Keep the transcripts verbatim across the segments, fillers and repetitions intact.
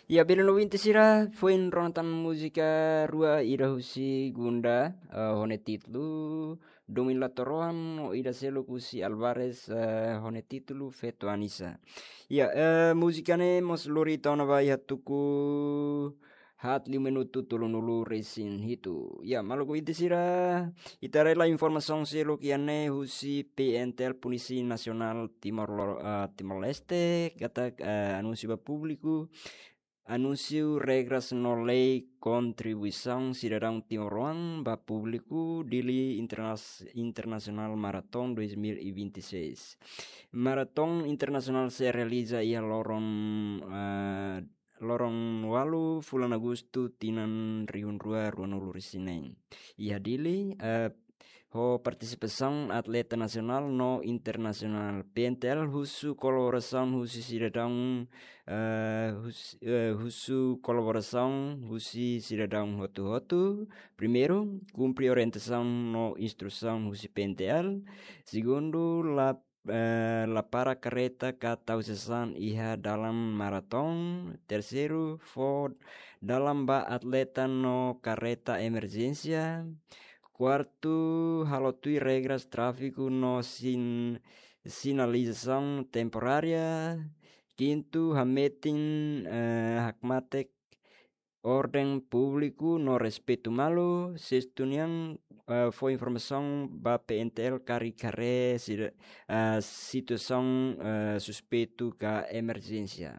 Ya, belun ouvinte sira, foin rona tan múzika rua, ida husi Gunda, eh, ho nia títulu Domin Latoroan, no ida seluk husi Alvarez, eh, ho nia títulu Feto Anisa. Ya, eh, múzika ne'e mós lori ita ona ba iha tuku haat liu minutu tolunulu-resin-hitu. Ya, maluk ouvinte sira, ita haree lai informasaun seluk iha ne'e husi P N T L, Polísia Nasionál Timor Lo-, eh, Timor-Leste, katak, eh, anúnsiu ba públiku, anúnsiu regras no lei kontribuisaun sidadaun timoroan ba públiku Dili Internas-, International Marathon dois mil e vinte e seis. Maraton internasionál sei realiza iha loron, eh, loron ualu fulan Agostu tinan rihun rua ruanulu-resin-neen. Iha Dili, eh, ho partisipasaun atleta nasionál no internasionál. P N T L husu kolaborasaun husi sidadaun, eh, hus-, eh, husu kolaborasaun husi sidadaun hotu-hotu. Primeiru, kumpre orientasaun no instrusaun husi P N T L. Segundu, la eh, la para karreta ka tau sasán iha dalan maraton. Terseiru, fó dalan ba atleta no karreta emerjénsia. Kuartu, halo tuir regras tráfiku no sin-, sinalizasaun temporária. Kintu, hametin, eh, hakmatek orden públiku no respeitu malu. Sestu nian, eh, fó informasaun ba P N T L karik haree sida-, eh, situasaun, eh, suspeitu ka emerjénsia.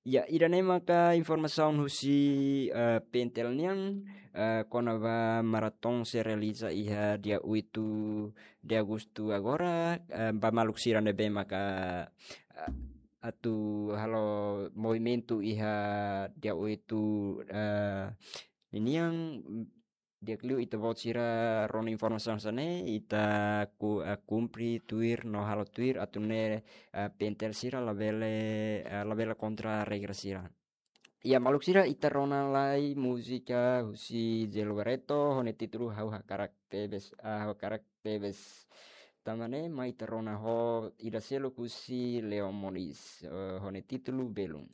Ya, ida-ne'e maka informasaun husi, eh, P N T L nian, eh, kona-ba maraton sei realiza iha dia oitu de Agostu agora, eh, ba maluk sira ne'ebé maka, eh, atu halo movimentu iha dia oitu, eh, ninian, di'ak liu ita-boot sira rona informasaun hanesan ne'e, ita ku-, eh, kumpre tuir no halo tuir atu nune'e, eh, P N T L sira labele, eh, labele kontra regra sira. Ya, maluk sira, ita rona lai múzika husi Gelo Barreto, ho nia títulu Ha'u Hakarak Tebes, ah, Ha'u Hakarak Tebes. Tanba ne'e, mai ita rona ho ida seluk husi Leo Moniz, eh, ho nia títulu Belun.